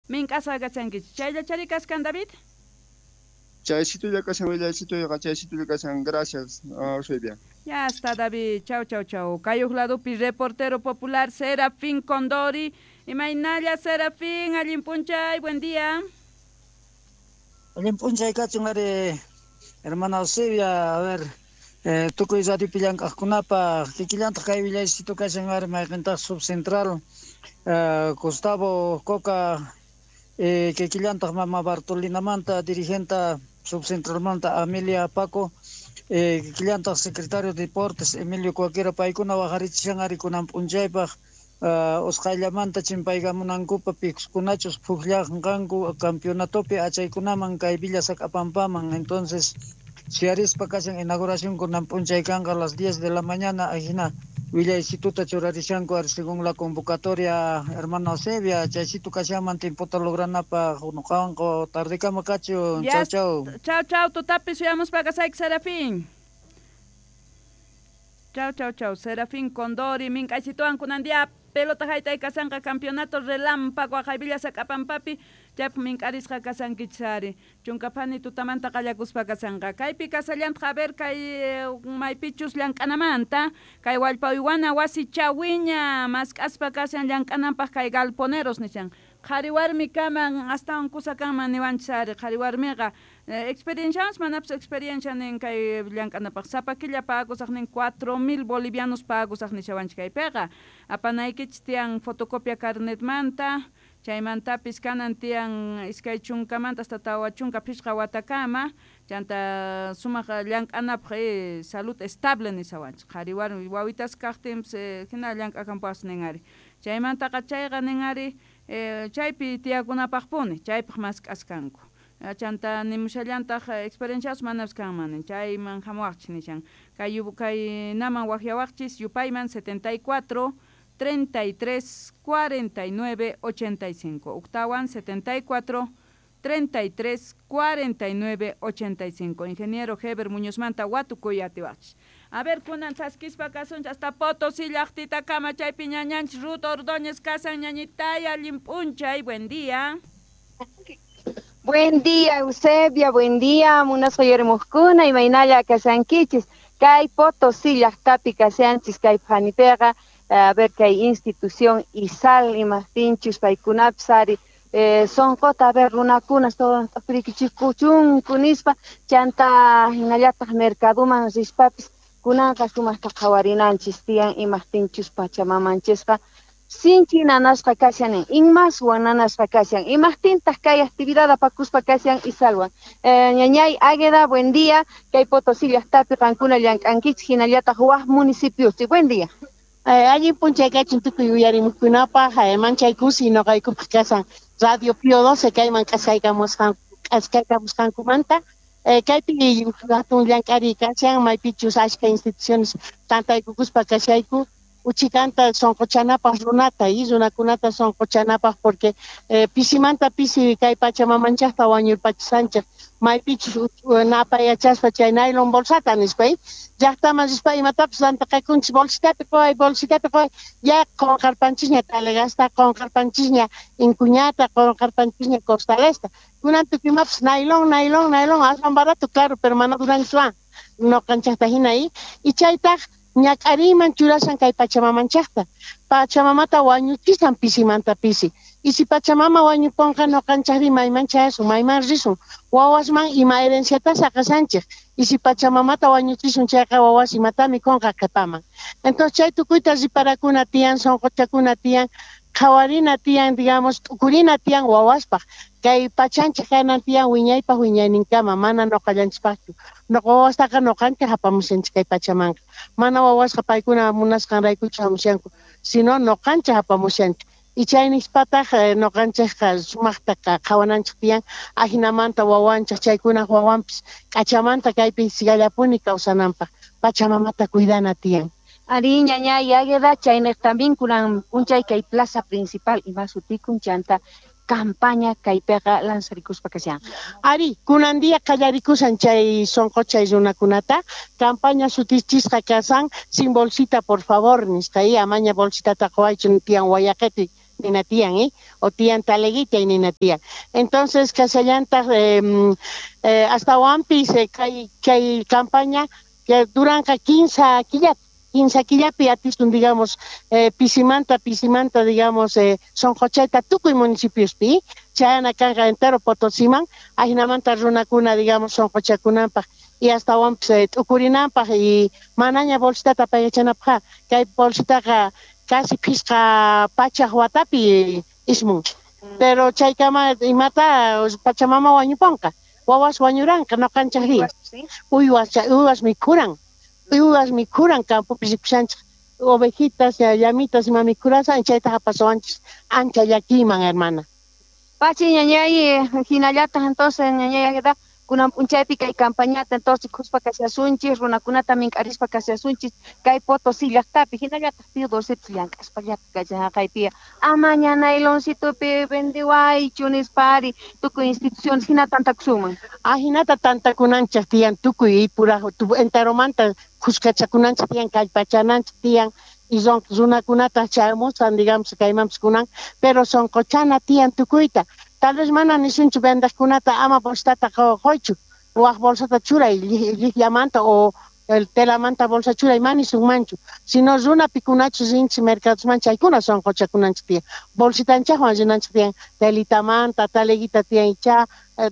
Mink'asqa kachankichik. Chayllachari kaskan, David? Chaysitulla kashan, willaysituyqa chaysitulla kashan. Gracias, Eusebia. Ya está, David. Chau, chau, chau. Kayuq ladupi reportero popular Serafín Condori. Imaynalla, Serafín, allin p'unchay, buen día. Allin p'unchay kachun ari, hermana Eusebia, a ver, tukuy radiopi llank'aqkunapaq, kikillantaq kay willaysitu kashan ari, mayqintaq subcentral Gustavo Coca, kikillantaq mama Bartolinamanta dirigenta subcentralmanta Amelia Paco, kikillantaq secretario de Deportes Emilio Cuaquera, paykuna waqarichishan ari kunan p'unchaypaq usqhayllamanta chimpaykamunankupa pikunachus phukllanqanku campeonatopi achaykunaman kay Villa Sac'apampaman. Entonces siarispa kashan inauguración kunan p'unchay kanqa a las 10 de la mañana, ajina willaysituta churarishanku ari según la convocatoria, hermana Eusebia. Chaysitu kashanman tiempota logranapaq nuqawanqa tardekama kachun. Chau, chau. Chau, chau, tutapi suyamuspa kasayki, Serafín. Chau, chau, chau. Serafín Condori, mink'aysituwan kunan día pelota haytay kasanqa campeonato relámpago aqhay Villa Sac'apampapi, chaypaq mink'arisqa kasankichis ari. Chunka phani tutamanta qallakuspa kasanqa. Kaypi kasallantaq, a ver, kay maypichus llank'anamanta, kay wallpa uywana wasi chawiña mask'aspa kashan llank'ananpaq kay galponeros nishan. Qhari warmi kaman astawan kusa kanman niwanchis ari, qhari warmiqa experienciawanpas manapis experiencia nin kay llank'anapaq. Sapa killa pagusaq nin 4000 bolivianos pagusaq nishawanchik kaypiqa. Apanaykichis tiyan fotocopia carnetmanta, chaymantapis kanan tiyan 20 hasta 45 watakama, chanta sumaq llank'anapaq salud estable nishawanchik. Qhari warmi wawitas kaqtinpis hina llank'akanpuas nin ari. Chaymantaqa chayqa nin ari chaypi tiyakunapaqpuni, chaypaq mask'askanku. Chanta nimushallantaq experiencias manapis kanman nin, chayman hamuwaqchis nishan. Kay kaynaman waqyawaqchis yupayman 74 33 49 85. Uktawan 74 33 49 85. Ingeniero Heber Muñozmanta watukuy atiwaqchis. A ver, kunan chaskispa kasunchis hasta Potosí llaqtitakama, chaypi ñañanchis Ruth Ordóñez kasan. Ñañitay, allin p'unchay, buen día. Buen día, Eusebia, buen día, munasqa uyarimuqkuna, imaynalla kashankichis. Kay Potosí llaqtapi kashanchis, kay phanipiqa, a ver, kay institución ISAL, imaqtinchus paykunapis ari sonqota, a ver, runakuna t'upirikichikuchunku nispa, chanta hinallataq mercaduman rispapis kunanqa sumaqta qhawarinanchis tiyan, imaqtinchus pachamamanchisqa sinchi nanasqa kashan, inmaswan nanasqa kashan. Imaqtintaq kay actividad apakuspa kashan ISALwan? Ñañay Águeda, buen día. Kay Potosí llaqtapi qankuna llank'ankichis, hinallataq waj municipiospi. Buen día. Allin p'unchay kachun tukuy uyarimuqkunapaq, manchay kusi noqaykupaq kasan Radio Pío 12 kayman k'askaykamusqankumanta. Kaypi hatun llank'ariy kashan, maypichus ashka instituciones tantaykukuspa kashayku uchikanta sonqochanapaq runata y runakunata sonqochanapaq, porque pisimanta pisi kay pachamamanchaqta wañurpachisanchik, maypichus napayachaspa chay nylon bolsata nispa, llaqtaman rispa imatapis rantaqakunchis, bolsitapi quway, bolsitapi quway, ya qunqarpanchisña talegasta, qunqarpanchisña inkuñata, qunqarpanchisña costalesta. Kunan tukuy imapis nylon, nylon, nylon, aswan barato, claro, pero mana duranchu noqanchaqta hina y chaytaq ñak'ariyman churashan kay pachamamanchaqta, pachamamata wañuchisan pisimanta pisi. Y si pachamama wañuponqa, noqanchaqri mayman chayasun, mayman risun, wawasman ima herenciata saqasanchik? Y si pachamamata wañuchisun chayqa, wawas imata mikhunqa qhipaman? Entonces chay tukuyta riparakuna tiyan, sunquchakuna tiyan, qhawarina tiyan, digamos, t'ukurina tiyan wawaspaq. Kay pachanchik kanan tiyan wiñaypaq wiñayninkama, mana noqallanchispaqchu. Noqa wawastaqa noqanchik apamushanchik kay pachamanqa, mana wawasqa paykuna munasqanraykuchu hamushanku, sino noqanchik apamushanchik. Y chay nispataq noqanchikqa sumaqta qhawananchik tiyan, ajinamanta wawanchik, chaykunaq wawanpis k'achamanta kaypi sigallapuni kawsananpaq pachamamata cuidana tiyan. Ari, ñañay Águeda, chayniq también kunan p'unchay kay plaza principal ima sutikun, chanta campaña kaypiqa lanzarikuspa kashan. Ari, kunan día qallarikusan chay sonqochay runakunata, campaña sutichisqa kasan "Sin bolsita, por favor" nisqa, y amaña bolsitata quwaychu tiyan wayaqeti. nina tiyan, o tiyan taleguita nina tiyan. Entonces kasallantaq astawanpis kay campaña que duranqa 15 killapi, 15 killapi atisun, digamos, pisimanta, digamos, sonqochayta tukuy municipiospi, chayana kanqa entero Potosiman, ajinamanta runakuna, digamos, sonqochakunanpaq y astawanpis t'ukurinanpaq y manaña bolsitata apaykachanapaq, kay bolsitaqa casi phisqa pachaq watapi ismun, pero chaykama imata Pachamama wañuponqa, wawas wañuranqa noqanchaqri, uywas mikhuran, uywas mikhuran campopi rikushanchik, ovejitas, llamitas ima mikhurasan, chaytaqa pasawanchis ancha llakiyman, hermana. Pachi ñañay, hinallataq entonces ñañay kunan p'unchaypi kay campañata entonces khuspa kashasunchis, runakunata mink'arispa kashasunchis kay Potosí llaqtapi, hinallataq Pío XII llank'aspa llaqta kachaqaypi, amaña nayloncitopi vendiwaychu nispari tukuy instituciones hina tantakusunman. Ajinata tantakunanchik tiyan tukuy puraj enteromanta khuskachakunanchik tiyan, kallpachananchik tiyan, y runakunata chayamusqan, digamos, kaymanpis kunan, pero sonqochana tiyan tukuyta. Tal vez mana nisunchu vendaqkunata ama bolsitata qoychu, waj bolsata churay llijllamanta o el telamanta bolsa churay mana nisunmanchu, sino runapikunachus rinchik mercadosman chaykuna sonqochakunanchik tiyan, bolsitanchaqwan rinanchik tiyan, telitamanta, taleguita tiyan icha,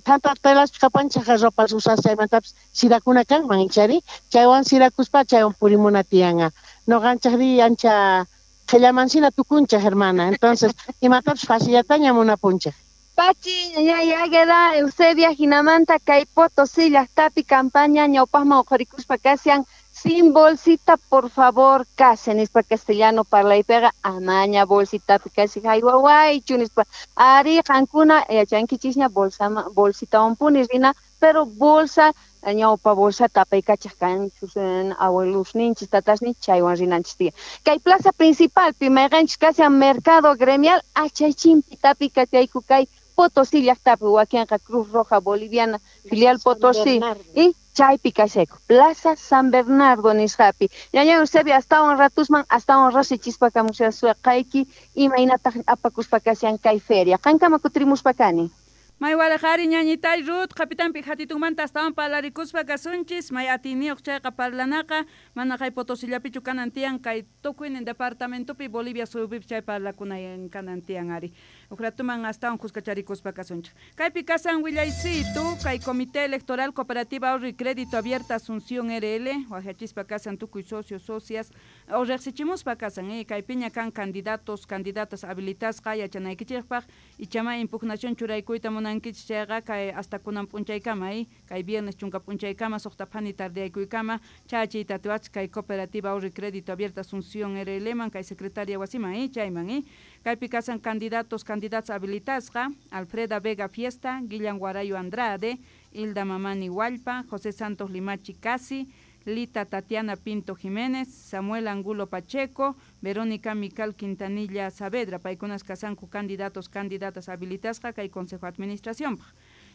tanta telaspi kapanchaq ropas usas chaymantapis sirakuna kanman ichari, chaywan sirakuspa chaywan purimuna tiyan. Noqanchaqri ancha qhillamansina tukunchaq, hermana, entonces imatapis facillataña munapunchaq. Pachi, ñañay Águeda, Eusebia, jinamanta, kay Potosí llaqtapi campaña ñawpaqman uqharikuspa kashan, sin bolsita, por favor, casi nispa castellano parlaypiqa amaña bolsitapi kasi haywawaychu nispa. Ari qankuna yachankichisña bolsitawanpuni rina, pero bolsa ñawpa bolsata apaykachaq kanchus abuelusninchis tatasninchis chaywan rinanchis tiyan. Kay plaza principalpi mayqanchis kashan mercado gremial achaychimpi tapi kachayku kay Potosí llaqtapi, wakinqa Cruz Roja Boliviana filial Potosí y chaypi kashayku Plaza San Bernardo nisqapi. Ñañay Eusebia, astawan ratusman astawan rasichispa kamushasuqayki imaynataq apakuspa kashan kay feria. Qankama kutirimuspa kani. May walaqari ñañitay Ruth, kapitanpi hatitunmanta astawan parlarikuspa kasunchis, may atiniyuq chayqa parlanaqa, mana kay Potosillapichu kanan tiyan, kay tukuynin departamentopi Bolivia suyupipi chay parlakunayan kanan tiyan ari. Uqratuman astawan kuskacharikuspa kasunchik. Kaypi kasan willaysitu, kay Comité Electoral Cooperativa Ahorro y Crédito Abierta Asunción RL, wajachispa kasan tukuy socios, socias, o riqsichimuspa kasan, kaypiña kan candidatos, candidatas habilitasqa yachanaykichikpaq, ichama impugnación churaykuyta munankichik chayqa kay hasta kunan p'unchaykama, kay viernes chunka p'unchaykama, suqta phani tardeakuykama, chachiyta atiwachik kay Cooperativa Ahorro y Crédito Abierta Asunción RL man, kay secretaria wasiman, chayman, kaypi kasan candidatos, candidatas habilitasqa, Alfreda Vega Fiesta, Guillan Guarayo Andrade, Hilda Mamani Hualpa, José Santos Limachi Casi, Lita Tatiana Pinto Jiménez, Samuel Angulo Pacheco, Verónica Mical Quintanilla Saavedra, paykunas kasanku candidatos, candidatas habilitasqa kay Consejo de Administración.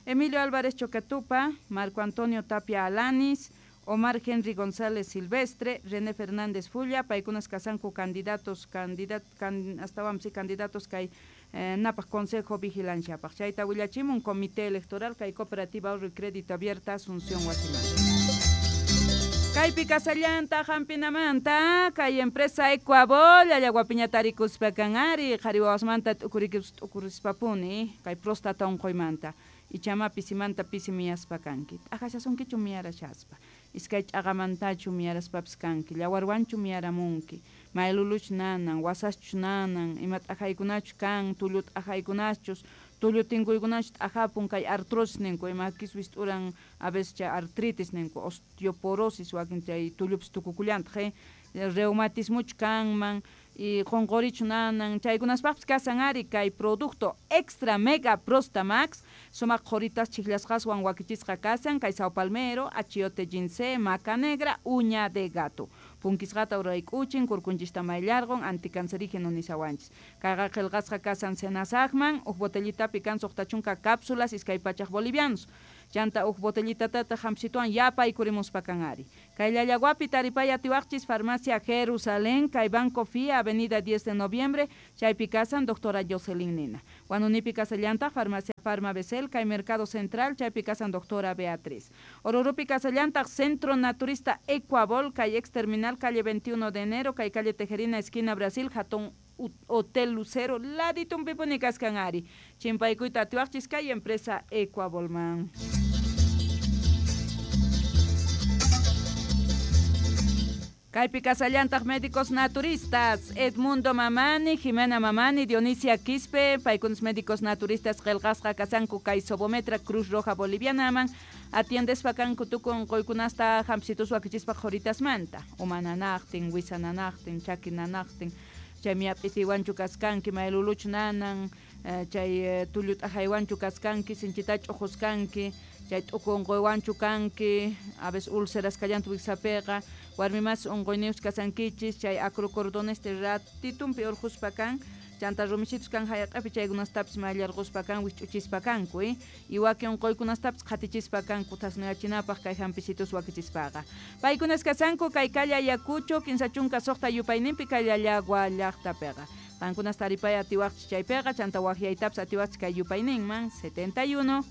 Emilio Álvarez Choquetupa, Marco Antonio Tapia Alanis, Omar Henry González Silvestre, René Fernández Fulla, paykunas kasanku candidatos, candidatos kay napaq Consejo Vigilanciapaq. Chayta willachimun Comité Electoral kay Cooperativa Ahorro y Crédito Abierta Asunción Wasiman. Kaypi kasallanta hampinamanta kay empresa Ecuabol allawapiñata rikuspa kan ari qhari wawasmanta t'ukurikuspapuni kay próstata unquymanta ichama pisimanta pisi miyaspa kanki t'aqashasunkichu miyarashaspa iskay ch'aqamantachu miyaraspapis kanki llawarwanchu miyaramunki mayluluchu nanan wasaschu nanan ima t'aqaykunachu kan tullu t'aqaykunachus tullu tinkuykunachu t'aqapun kay artrosis ninku ima kiswis t'uran a veces chay artritis ninku osteoporosis wakin chay tullupis tukukullantaq reumatismuchu kanman y qunqurichu nanan chaykunaspaqpis kasan ari kay producto extra mega prostamax sumaq qhuritas chiklasqaswan wakichisqa kasan kay sao palmero achiote ginseng maca negra uña de gato punkisqata urayk'uchin kurkunchista mayllarqun anticancerígeno nisawanchis kayqa qillqasqa kasan senasaqman uj botellitapi kan 60 cápsulas 200 bolivianos. Chanta uj botellitatataq hampisituwan yapaykurimuspa kan ari. Kay Llallaguapi taripay atiwaqchis Farmacia Jerusalén, kay Banco FIA, Avenida 10 de Noviembre, chaypi kasan doctora Jocelyn Nina. Huanunipi kasallantaq Farmacia Farma Becel, kay Mercado Central, chaypi kasan doctora Beatriz. Orurupi kasallantaq Centro Naturista Ecuabol, kay ex terminal, calle 21 de enero, kay calle Tejerina, esquina Brasil, Jatón Hotel Lucero, laditunpipuni kaskan ari. Chimpaykuyta atiwaqchis kay empresa Ecuabolman. Kaypi kasallantaq médicos naturistas, Edmundo Mamani, Jimena Mamani, Dionisia Quispe, paykunas médicos naturistas qillqasqa kasanku kay Sobometra Cruz Roja Bolivianaman, atiendespa kanku tukuy unquykunasta hampisitus wakichispa qhuritasmanta, uma nanaqtin, wisa nanaqtin, chaki nanaqtin, chay miyap'itiwanchu kaskanki, mayluluchu nanan, chay tullu t'ajaywanchu kaskanki, sinchita ch'uquskanki, chay t'uku unquywanchu kanki, a veces úlceras kallantu wiksapiqa, warmi mas unquyniyuq kasankichis, chay acrocordones ratitumpi urquspa kan, chanta rumisitus kan hayaq'api chaykunastapis mayllarquspa kan, wikch'uchispa kanku, y wakin unquykunastapis qhatichispa kanku thasnuyachinapaq kay hampisitus wakichispaqa. Paykunas kasanku kay calle Ayacucho, 56 yupayninpi kay Llallagua llaqtapiqa. Qankunas taripay atiwaqchis chaypiqa, chanta waqyaytapis atiwaqchis kay yupayninman 71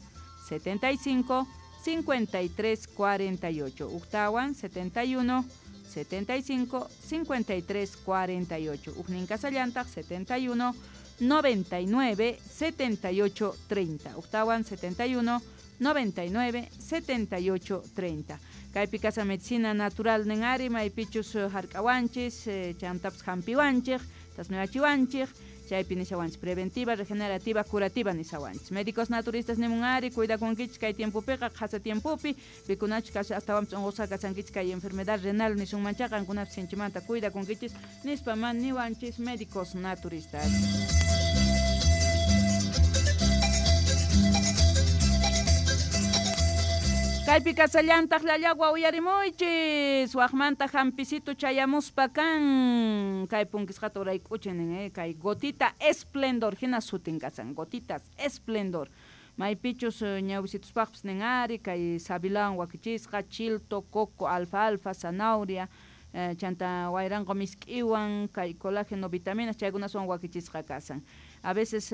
75 53 48. Uktawan 71 75 53 48. Ujnin kasallantaq 71 99 78 30. Uktawan 71 99 78 30. Kaypi kasa medicina natural nin ari, maypichus hark'awanchis, chantapis hampiwanchik, tasnuyachiwanchik, chaypi nishawanchis preventiva, regenerativa, curativa nishawanchis. Médicos naturistas nimun ari, cuidakunkichis kay tiempopiqa, qhasa tiempopi, pikunachus kasha astawanpis unqusqa kasankichis kay enfermedad renal nisunmanchaqa, qankunapis sinchimanta cuidakunkichis nispa man niwanchis médicos naturistas. Kaypi kasallantaq Llallagua uyarimuychis, waqmanta hampisitu chayamuspa kan, kay punkisqata urayk'uchin nin, kay gotita esplendor hina sutin kasan, gotitas esplendor. Maypichus ñawisituspaqpis nin ari, kay sabilawan wakichisqa, chilto, coco, alfalfa, zanahoria, chanta wayranqo misk'iwan, kay colágeno, vitaminas, chaykunaswan wakichisqa kasan. A veces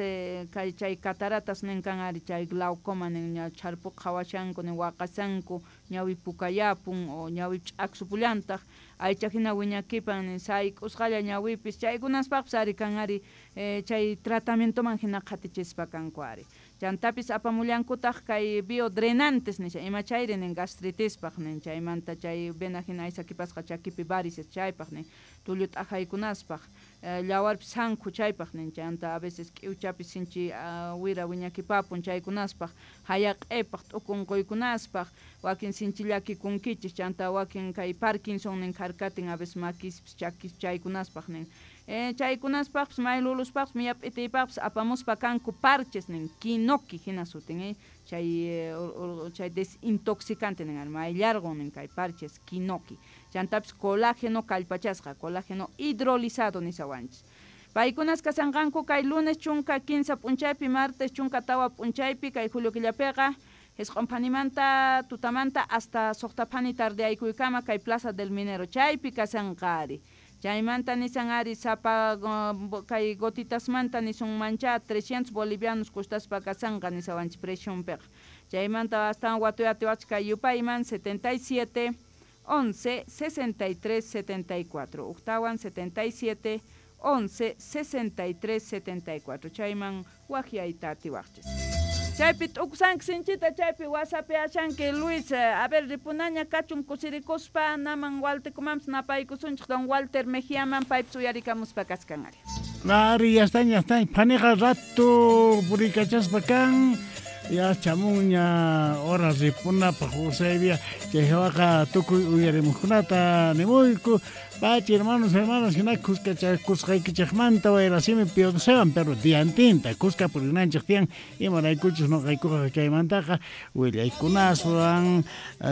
kay chay cataratas nin kan ari, chay glaucoma nin ña chharpuq qhawashanku nin waqasanku, ñawi pukayapun o ñawi ch'aksupullantaq, aycha hina wiñakipan nin sayk'usqalla ñawipis, chaykunaspaqpis ari kan ari, chay tratamientoman hina qhatichispa kanku ari. Chantapis apamullankutaq kay biodrenantes nisha, ima chayri nin gastritispaq nin, chaymanta chay vena hina aysakipasqa chakipi varices chaypaq nin, tullu t'ajaykunaspaq, llawarpis sankhu chaypaq nin, chanta a veces k'iwchapis sinchi wira wiñakipapun chaykunaspaq, hayaq'ipaq, t'uku unquykunaspaq, wakin sinchi llakikunkichis, chanta wakin kay Parkinson nin kharkatin a veces makispis chakis chaykunaspaq nin. Chaykunaspaqpis mayluluspaqpis miyap'itiypaqpis apamuspa kanku parches nin, kinoki hina sutin, chay chay desintoxicante nin, mayllarqun nin kay parches kinoki. Chantapis colágeno kallpachasqa, colágeno hidrolizado nisawanchis. Paykunas kasanqanku kay lunes chunka 15 p'unchaypi, martes chunka 4 p'unchaypi, kay julio killapiqa, Jisq'un phanimanta tutamanta hasta suqta phani tardeaykuykama kay Plaza del Minero chaypi kasanqa ari. Chaymanta nisan ari sapa kay gotitasmanta nisunmancha 300 bolivianos costaspa kasanqa nisawanchis presionpiqa. Chaymanta astawan watuyatiwachis kay yupayman 77 11 63 74. Uktawan 77 11 63 74. Chayman waqyayta atiwaqchis. Chaypi t'ukusanki sinchita, chaypi wasapiashanki Luis, a ver ripunaña kachun kusirikuspa, naman Waltekumanpis napaykusunchik don Walter Mejiaman paypis uyarikamuspa kaskan ari. Ari, ya están, phaniqa rato purikachaspa kan, ya chamunña hora ripunapaq Eusebia, chay hawaqa tukuy uyarimuqkunata nimuyku, pachi hermanos, hermanas, hina kusqaykichikmanta wayrasimi pionsewan, pero diantinta kuska purinanchik tiyan, imaraykuchus noqaykuqa chaymantaqa willaykunaswan,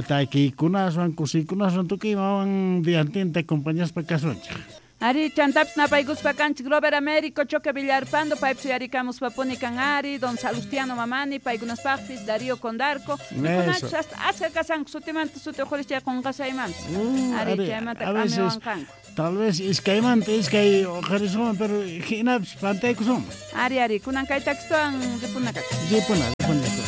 takiykunaswan, kusiykunaswan, tukuy imawan diantinta acompañaspa kasunchik. Ari, chantapis napaykuspa kanchik Robert Américo, Choque Villarpando, paypis uyarikamuspapuni kan ari, Don Salustiano Mamani, paykunaspaqpis, Darío Condarco, pikunachus hasta aska kasanku sutimanta suti uqhuris chay qunqasaymanpis. Ari, chaymanta a veces k'amiwanqanku. tal vez iskaymanta iskay uqharisunman, pero hinapis pantaykusunman. Ari, ari, kunan kay takistuwan ripuna kaka. Ripuna, ripuna.